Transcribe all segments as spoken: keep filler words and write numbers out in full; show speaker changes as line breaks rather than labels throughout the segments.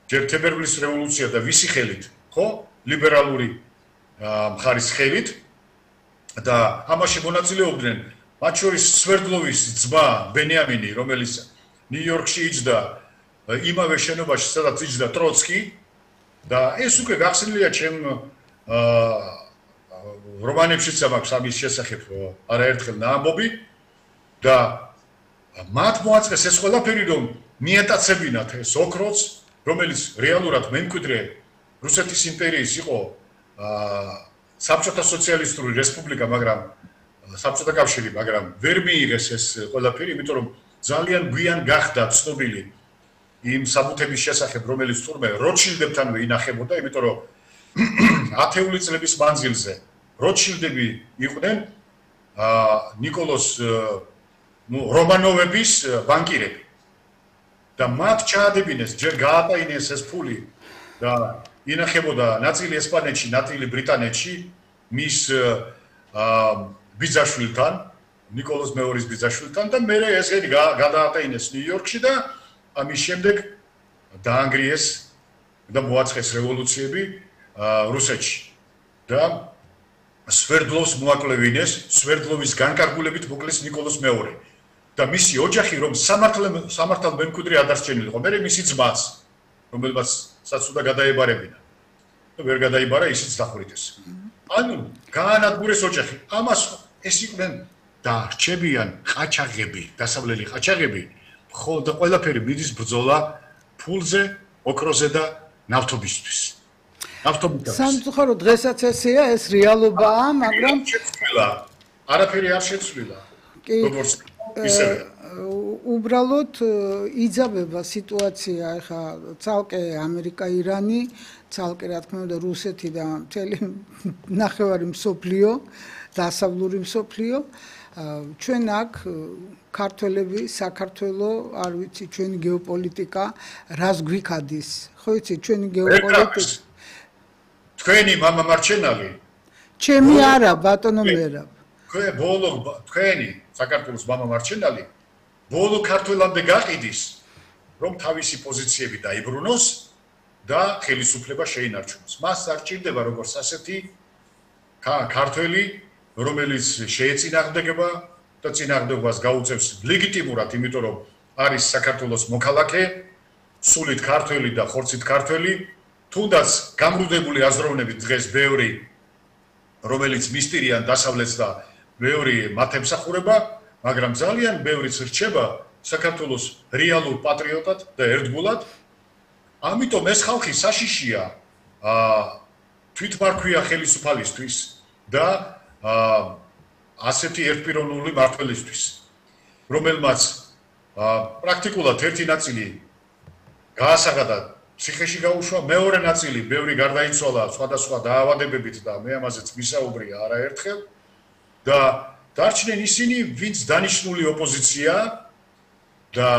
ჯერ თებერვლის რევოლუცია და ვისი ხელით, ხო? ლიბერალური მხარის ხელით და ამაში მონაწილეობდნენ მათ შორის სვერდლოვის ძმა ბენიამინი, რომელიც ნიუ-იორკში იჯდა იმავე შენობაში, სადაც იჯდა ტროცკი და ეს უკვე გახსნილია ჩემ რომანებშიც მაქვს ამის შესახებ არაერთხელ ნაამბობი და მათ მოაწყეს ეს ყველაფერი, რომ მიეტაცებინათ ეს ოქროც, რომელიც რეალურად მემკვიდრე რუსეთის იმპერიის იყო საბჭოთა სოციალისტური რესპუბლიკა, მაგრამ საბჭოთა კავშირი, მაგრამ ვერ მიიღეს ეს ყველაფერი, იმიტომ რომ ძალიან გვიან გახდა ცნობილი იმ საბუთების შესახებ, რომელიც თურმე როტშილდებთანვე ინახებოდა, იმიტომ რომ ათეული წლების მანძილზე როტშილდები იყვნენ ნიკოლოს რომანოვების ბანკირები და მათ ჩაადებინეს, ჯერ გაატაინეს ეს ფული და ინახებოდა ნაწილი ესპანეთში, ნაწილი ბრიტანეთში მის ბიძაშვილთან, ნიკოლოს მეორის ბიძაშვილთან და მერე ესენი გადაატაინეს ნიუ-იორკში და ამის შემდეგ დაანგრიეს და მოაწყეს რევოლუციები რუსეთში და სვერდლოვს მოაკლევინეს, სვერდლოვის განკარგულებით მოკლეს ნიკოლოს მეორე და მისი ოჯახი რომ სამართალ მემკვიდრე ადარჩენილიყო, მერე მისი ძმაც, რომელმაც საცუდა გადაებარებინა და ვერ გადაიბარა, ისიც დახვრიტეს. ანუ გაანადგურეს ოჯახი. ამას ეს იყვნენ დარჩებიან ყაჩაღები, დასავლელი ყაჩაღები, ხოლო ყველაფერი მიდის ბრძოლა ფულზე, ოქროზე და ნავთობისთვის.
სამწუხარო დღესაც ესეა, ეს რეალობაა, მაგრამ
არაფერი არ შეცვლილა. როგორც ისევე
უბრალოდ იძაბება სიტუაცია, ეხა ცალკე ამერიკა-ირანი, ცალკე რა თქმა უნდა რუსეთი და მთელი ნახევარი მსოფლიო, დასავლური მსოფლიო, ჩვენ აქ ქართველები, საქართველო, არ ვიცი, ჩვენი გეოპოლიტიკა რას გვიქადის, ხო იცი, ჩვენი გეოპოლიტიკა
თქვენი მამა მარჩენალი
ჩემი არა ბატონო მერაბ
თქვენ ბოლო თქვენი საქართველოს მამა მარჩენალი ბოლო ქართველამდე გაყიდის რომ თავისი პოზიციები დაიბრუნოს და ხელისუფლება შეინარჩუნოს. მას არ ჭირდება როგორც ასეთი ქართველი, რომელიც შეეწინააღმდეგება და წინააღმდეგობას გაუწევს ლეგიტიმურად, იმიტომ რომ არის საქართველოს მოქალაქე, სულით ქართველი და ხორცით ქართველი. თუნდაც გამრუდებული აზროვნებით დღეს ბევრი, რომელიც მისტირიან დასავლეთს და ბევრი მათ ემსახურება, მაგრამ ძალიან ბევრიც რჩება საქართველოს რეალურ პატრიოტად და ერთგულად. ამიტომ ეს ხალხი საშიშია თვითმარქვია ხელისუფალისთვის და ასეთი ერთპიროვნული მმართველისთვის, რომელმაც პრაქტიკულად ერთი ნაწილი გაასაღადა ციხეში გაუშვა, მეორე ნაწილი ბევრი გარდაიცვალა სხვადასხვა დაავადებებით და მე ამაზეც ვისაუბრია არაერთხელ და დარჩნენ ისინი, ვინც დანიშნული ოპოზიცია და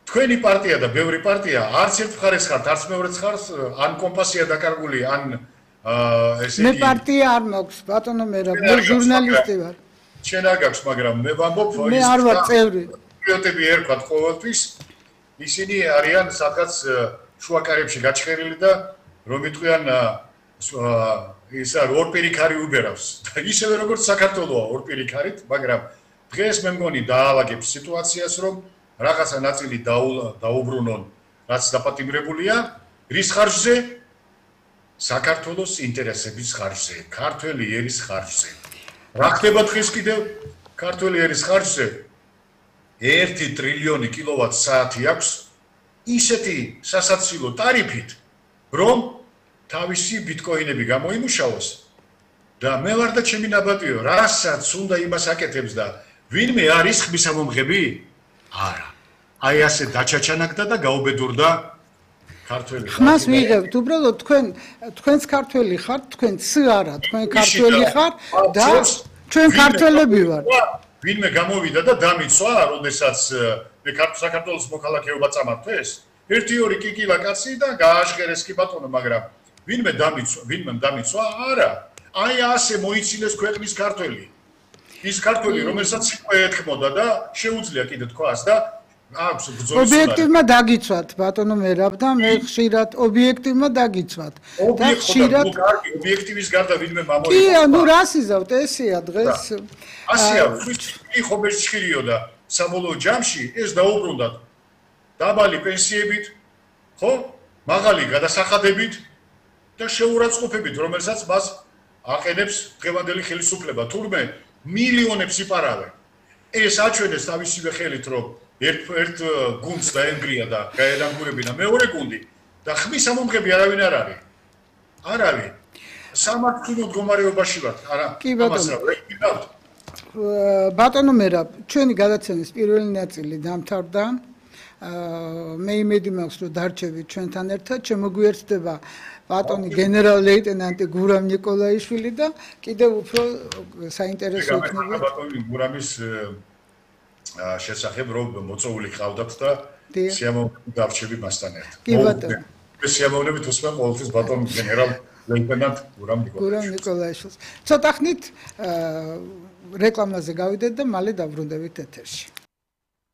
თქვენი პარტია და ბევრი პარტია არც ერთ მხარეს ხართ, არც მეორეც ხართ, ან კომპასია დაკარგული, ან ესე იგი
მე პარტია არ მაქვს, ბატონო მერაბ, მე ჟურნალისტი ვარ.
შენ არ გაქვს, მაგრამ მე ვამბობ,
მე არ ვარ წევრი.
პატრიოტები ერქვათ ყოველთვის, ისინი არიან სადღაც შუაკარებში გაჩხერილი და რომ იტყვიან ის არ ორპირიქარი უბერავს და ისევე როგორც საქართველოა ორპირიქარით, მაგრამ დღეს მე მგონი დაალაგებს სიტუაციას, რომ რაღაცა ნაწილი დაუბრუნონ, რაც დაპატიმრებულია, რის ხარჯზე? საქართველოს ინტერესების ხარჯზე, ქართველი ერის ხარჯზე. რა ხდება დღეს კიდევ ქართველი ერის ხარჯზე? ერთი ტრილიონი კილოვატ-საათი აქვს ისეთი სასაცილო ტარიფით, რომ თავისი ბიტკოინები გამოიმუშავოს და მე ვარ და ჩემი ნაბატიო, რასაც უნდა იმას აკეთებს და ვინმე არის ხმის ამომღები? არა. აი ასე დაჩაჩანაკდა და გაუბედურდა ქართველი.
ხმას მიიღებთ, უბრალოდ თქვენ თქვენც ქართველი ხართ, თქვენც არა, თქვენ ქართველი ხართ და ჩვენ ქართველები ვართ.
ვინმე გამოვიდა და დამიცვა, როდესაც მე საქართველოს მოქალაქეობა წამართვეს? ერთი ორი კიკილა კაცი და გააშხერეს კი ბატონო, მაგრამ ვინმე დამიცვა, ვინმე დამიცვა? არა. აი ასე მოიცილეს ქვეყნის ქართველი. ის ქართველი, რომელსაც სიტყვა ეთქმოდა და შეუძლია კიდე თქვას და აქვს ბრძოლის
ობიექტივმა დაგიცვათ ბატონო მერაბ და მე ხშირად ობიექტივმა დაგიცვათ და ხშირად
ობიექტივის გარდა ვინმე მამოიყო
კი ანუ რას იზავთ ესეა დღეს
ასია ვთქვი ხობეჭხილიო და საბოლოო ჯამში ეს დაუბრუნდათ დაბალი პენსიებით ხო მაღალი გადასახადებით და შეურაცხყოფებით რომელსაც მას აყენებს დღევანდელი ხელისუფლება თურმე მილიონებს იპარავენ ეს აჩვენეს თავისივე ხელით რომ ერთ ერთ გუნდს დაენგრია და გაედანგურებინა მეორე გუნდი და ხმის ამომღები არავინ არ არის არ არის სამართლო მდგომარეობაში ვართ არა ამას რა ვეკიდავთ
ბატონო მერაბ ჩვენი გადაცემის პირველი ნაწილი დამთავრდა მე იმედი მაქვს რომ დარჩებით ჩვენთან ერთად შემოგვიერთდება ბატონი გენერალ-ლეიტენანტი გურამ ნიკოლაიშვილი და კიდევ უფრო საინტერესო იქნება
ბატონი გურამის შესახებ რომ მოწვეული ყავდათ და სიამოვნებით დარჩები მასთან ერთად.
კი ბატონო.
სიამოვნებით უსმენ ყოველთვის ბატონ გენერალ-ლეიტენანტ გურამ ნიკოლაიშვილს.
გურამ ნიკოლაიშვილს. ცოტა ხნით რეკლამაზე გავიდეთ და მალე დავბრუნდებით ეთერში.